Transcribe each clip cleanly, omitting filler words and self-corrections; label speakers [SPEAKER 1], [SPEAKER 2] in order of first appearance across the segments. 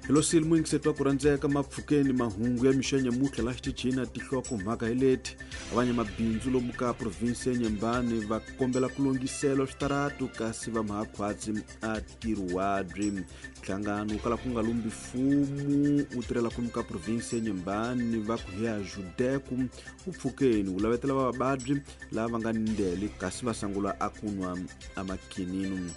[SPEAKER 1] Hi muyingiseti wa ku rhandzeka mapfhukeni mahungu ya mixo ya nyamutlha laha xitichini a tihloko mhaka hi leti. Vanyamabindzu lomu ka provinsi ya Nyembani va kombela ku lunghiselwa switaratu kasi va mahakhwatsi a tirhuwabyi. Nhlangano wu kala ku nga lumbi mfumo wu tirhela kumu ka provinsi ya Nyembani va ku hi ya Judeku wu pfukeni wu lavetela vavabyi lava nga ni ndele kasi va sangula a ku nwa amakhininu.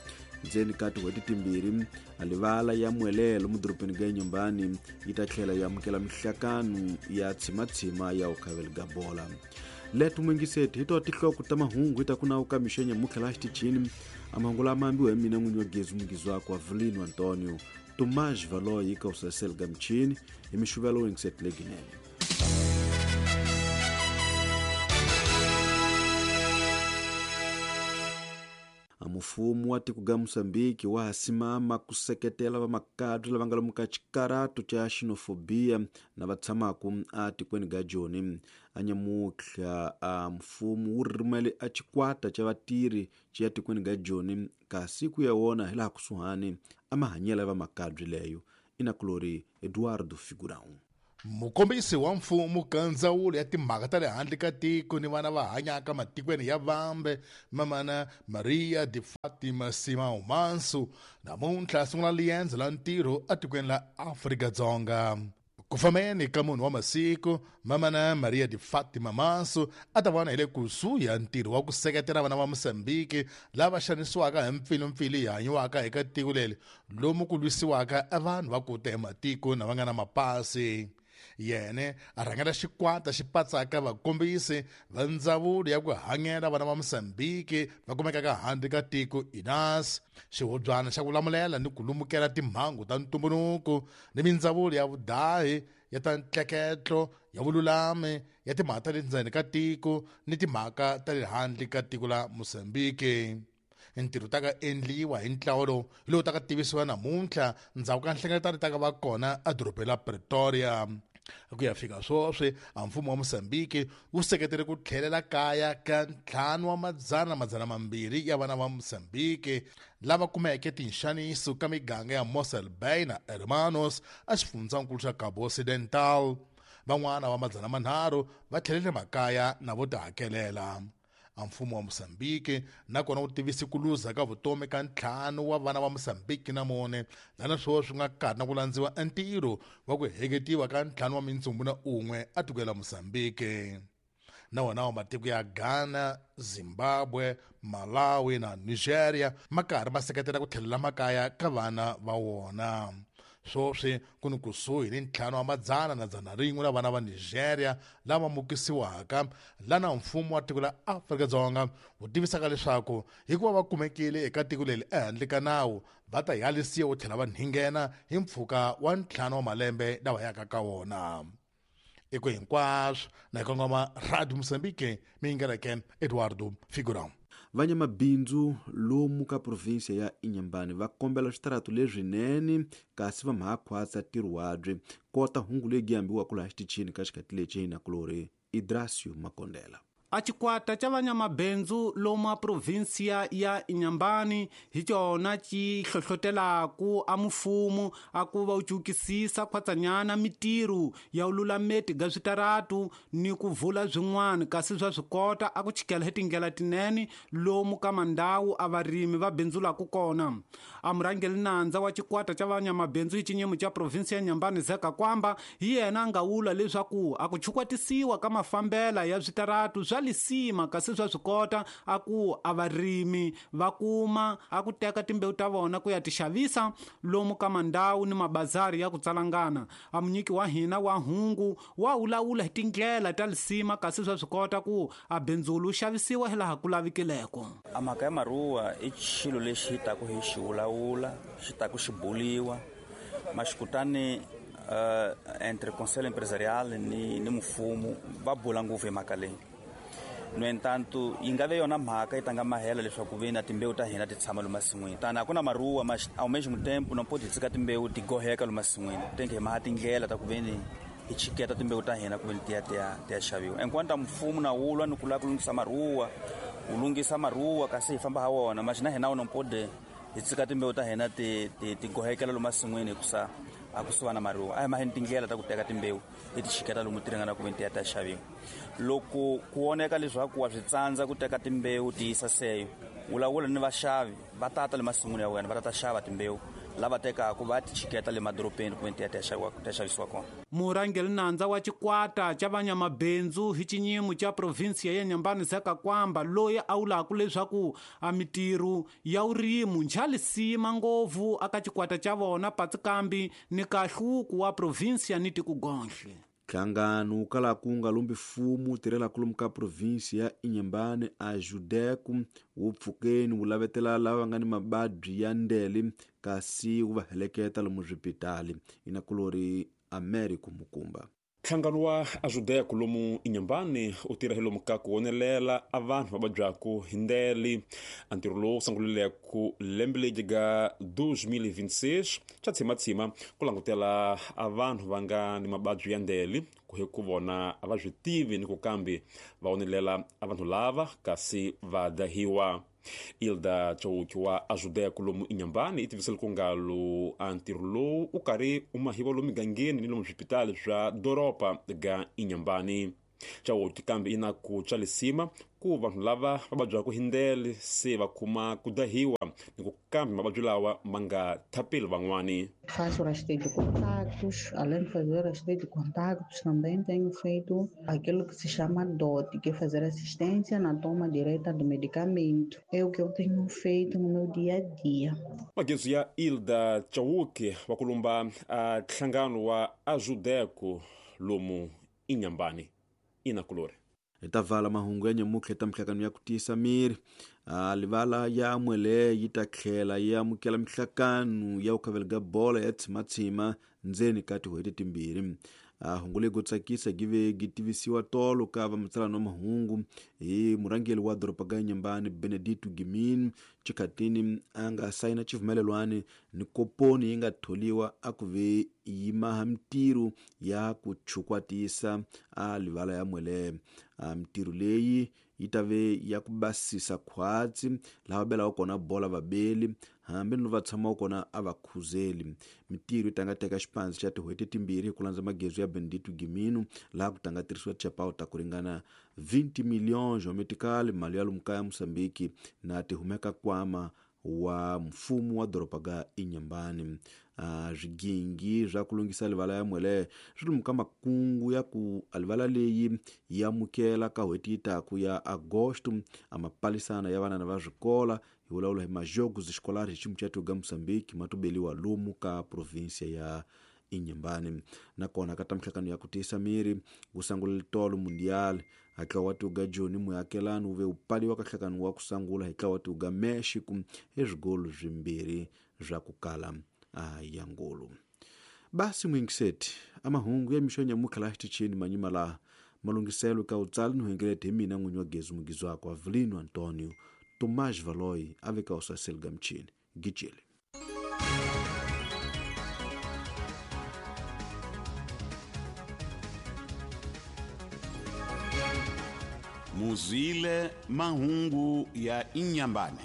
[SPEAKER 1] Ndzeni ka tin'hweti timbirhi alivala ya Muelelo mudorobeni ga Nyembani yi ta tlhela yi amukela mihlakano ya tshimatshima ya ukhaveli ga bola. Leto muyingiseti hi to tihloko ta mahungu hi ta ku nawu ka mixo ya nyamutlha laha xitichini. A mahungu lama ambiwa hi mina n'winyi wa gezi mungizi wakwe Avelino Antonio Tomás Valoyi ka usasel ga michini hi mixuvelo yingiseti leginene. Mfumo wa tiko ga Mozambique wa ha simama ku seketela vamakabye lava nga lomu ka xikarato xa xenofobia na va tshamaka atikweni ga Joni. A nyamutlha a mfumo wu rhumele a xikwata xa vatirhi xi ya tikweni ga Joni kasi ku ya wona hi laha kusuhani a mahanyelo ya vamakabye leyo. Inakulori Eduardo Figurão.
[SPEAKER 2] Mukombisi wa mfumo ka ndzawulo ya timhaka ta le handle ka tiko ni vana va hanyaka matikweni ya vambe mamana Maria de Fatima Simão Manso namuntlha a sungula liendzo la ntirho atikweni la Afrika-Dzonga. Ku fambeni ka munhu wa masiku, mamana Maria de Fatima Manso a ta vona hi le kusuhi ya ntirho wa ku seketela vana va Mozambique lava xanisiwaka hi mpfilumpfilu yi hanyiwaka eka tiko leri lomu ku lwisiwaka vanhu va ku ta hi matiko na va nga na mapasi. Yene a rhangela xikwata xi patsaka vakombisi va ndzawulo ya ku hanyela vana va Mozambique va kumekaka handle ka tiko INAS, xihubyana xa ku lamulela ni ku lumukela timhangu ta ntumbuluko ni mindzawulo ya vudahi ya ta ntleketlo ya vululami ya timhaka ta le ndzeni ka tiko ni timhaka ta le handle ka tiko la Mozambique. Ntirho ta ka endliwa hi ntlawa lowu hi lowu ta ka tivisiwa namuntlha ndzhaku ka nhlengeletano ta ka va kona edorobeni la Pretoria. Ku ya fika sweswi a mfumo wa Mozambique wu seketele ku tlhelela kaya ka 5,200 ya vana va Mozambique lava kumeke tinxaniso ka miganga ya Mossel Bay na Hermanos a xifundzankulu xa Cabo Occidental. Van'wana va 300 va tlhelele makaya na vo tihakelela. A mfumo wa Mozambique nakona wu tivise ku luza ka vutomi ka 5 wa vana va Mozambique na mune lana sweswi nga karhi na ku landziwa ntirho wa ku heketiwa ka 5 wa mintsumbu na un'we a tikweni la Mozambique. Na wona wa matiko ya Ghana, Zimbabwe, Malawi na Nigeria ma karhi ma seketela ku tlhelela makaya ka vana va wona. Sweswi ku ni kusuhi ni 5,100 la vana va Nigeria lava mukisiwaka lana mfumo wa tiko la Afrika-Dzonga wu tivisaka leswaku hikuva va kumekile eka tiko leri ehandle ka nawu va ta yalisiwa wu tlhela va nghena hi mpfhuka wa 5 wa malembe lawa yaka ka wona. Eko hinkwaswo na kongoma Radio Mozambique mi yingeleke Eduardo Figurão.
[SPEAKER 1] Vanyamabindzu lomu ka provinsia ya Inhambane va kombela switaratu leswinene kasi va mhakhwatsa tirhuwabye kota hungu leyi ambiwaka laha xitichini ka xikati lexi hi nakulori Idrasio Makondela.
[SPEAKER 3] A xikwata xa vanyamabindzu lomu a provinsia ya Inhambane hi xona xi hlohlotelaku a mfumo a ku va wu cukisisa khwatsanyana mitirho ya vululameti ga switaratu ni ku vula swin'wana kasi swa swi kota a ku chikela hi tindlela tinene lomu ka mandhawu a varimi va bindzulaku kona. A murhangeri nandza wa xikwata xa vanyamabindzu hi xinyimo xa provinsia ya Inhambane Zeka Kwamba hi yena a nga vula leswaku a ku chukwatisiwa ka mafambela ya switaratu swa lisima kasi swa swi kota a ku a varimi va kuma a ku teka timbewu ta vona ku ya ti xavisa lomu ka mandhawu ni mabazari ya ku tsalangana. A munyiki wa hina wa hungu wa vulavula hi tindlela ta lisima kasi swa swi kota ku a bindzulu xavisiwa hi laha ku lavikileko.
[SPEAKER 4] A mhaka ya maruwa i xilo lexi hi taku hi xi vulavula, xi taku xi buliwa maxikutani entre conseil empresarial ni mfumo va bula ngopfu hi mhaka leyi. No entanto yi nga ve yona mhaka yi tanga mahela leswaku ve na timbewu ta hina ti tshama lomu masin'wini. Tani a ku na maruwa, mas ao mesmo tempo não pode tshika timbewu ti goheka lomu masin'wini. Tem que maha tindlela ta ku ve ni hi chiketa timbewu ta hina ku ve ni ti ya ti ya ti ya xaviwa. Enquanto mfumo na wu lwa ni ku lava ku lunghisa maruwa, wu lunghisa maruwa kasi hi famba ha wona, mas na hina não pode hi tshika timbewu ta hina ti gohekela lomu masin'wini hikusa A ku suva na mariwa a hi maheni tindlela ta ku teka timbewu hi ti chiketa lomu ti ringana ku ve ti ya ta xaviwa. Loko ku voneka leswaku wa swi tsandza ku teka timbewu ti yisa seyo, vulavula ni vaxavi va tata le masin'wini ya wena va ta xava timbewu lava tekaka va ti chiketa le madorobeni ku ve ti ya ti ya xavisiwa kona.
[SPEAKER 3] Murhangeri nandza wa xikwata xa vanyamabindzu hi xinyimo xa provinsiya ya Inhambane Zeka Kwamba loyi a vulaka leswaku a mitirho ya vurimi njhalisima ngopfu aka xikwata xa vona Patsikambi ni kahluku wa provinsiya ni tikugonhle.
[SPEAKER 1] Nhlangano wu kalaka wu nga lombi mfumo wu tirhelaka lomu ka provinsi ya Inhambane a Judeco wu pfukeni wu lavetela lava va nga ni mababyi ya ndele kasi wu va heleketa lomu swipitali. Inakulori Americo Mukumba.
[SPEAKER 5] Nhlangano wa Ajudeco lomu Inhambane u tirha hi lomu ka ku wonelela a vanhu va vabyaku hi ndele. A ntirho lowu sungulileko lembe leri ga 2026 xa tshimatshima ku langutela a vanhu va nga ni mababyi ya ndele ku hi ku vona a va swi tivi ni ku kambe va wonelela a vanhu lava kasi va dahiwa. Ilda Chauki wa Ajudeco lomu Inhambane i tivisele ku ngalo a ntirho lowu u karhi u mahiwa lomu migangeni ni lomu swipitali swa doroba ga Inhambane. Chauki kambe i na ku tswalisima ku vanhu lava va vabyaka hi ndele se va kuma ku dahiwa ni ku kambe mavabyi lawa ma nga thapeli van'wani.
[SPEAKER 6] Faço rastreio de contactos, além de fazer rastreio de contactos, também tenho feito aquilo que se chama DOT, que é fazer assistência na toma direta do medicamento. É o que eu tenho feito no meu dia a dia.
[SPEAKER 5] Magezu ya Ilda Chauki wa kulumba a nhlangano wa Ajudeco lomu Inhambane. Inakulore.
[SPEAKER 1] Hi ta vala mahungu ya nyamutlha ta mihlakano ya ku tiyisa miri. Livala ya Mwele yi ta tlhela yi amukela mihlakano ya ku khavela bolo ya tshimatshima ndzeni ka tin'hweti timbirhi. Hungu leri go tsakisa give gi tivisiwa tolo ka vamatsalani wa mahungu hi murhangeri wa doroba ga Inhambane Benedito Gimin xikhatini a nga sayina xivumelelwani ni koponi yi nga tholiwa a ku ve yi maha mitirho ya ku chukwatisa a livala ya Mwele. Mitirho leyi yi ta ve ya ku basisa khwatsi laha va belaka kona bola vabeli hambi no va tshamaka kona a va khuzeli. Mitirho yi ta nga teka xipandzi xa tin'hweti timbirhi hi ku landza magezu ya Benedito Gimino laha ku ta nga tirhisiwa tichapawu ta ku ringana 20 millions geometrical mali ya lomu kaya Mozambique na ti humeka kwama wa mfumo wa doroba ga Inhambane. Swigingi swa ku lunghisa livala ya Mwele swi lomu ka makungu ya ku livala leyi yi amukela ka n'hweti yi taku ya Agosto a mapalisana ya vanana va swikola hi vulavula hi majogos escolares hi ximu xa ga Mozambique ma tubeliwa lomu ka provinsia ya Inhambane. Nakona ka ta mihlakano ya ku tiyisa miri ku sangula tolo mundial hatla wa tuga Joni muakelani wu ve wu paliwa ka nhlakano wa ku sangula hi tlawa tuga Mexico hi swigolo swimbirhi swa ku kala ya ngolo. Basi mwingiseti a mahungu ya mixo ya nyamutlha laha xitichini manyima laha malunghiselo ka utsali ni huengelete hi mina n'winyi wa Gezu mugizwako Avelino Antonio Tomás Valoy a veka usaseli ga mchini gijele.
[SPEAKER 7] Muzwile mahungu ya Inhambane.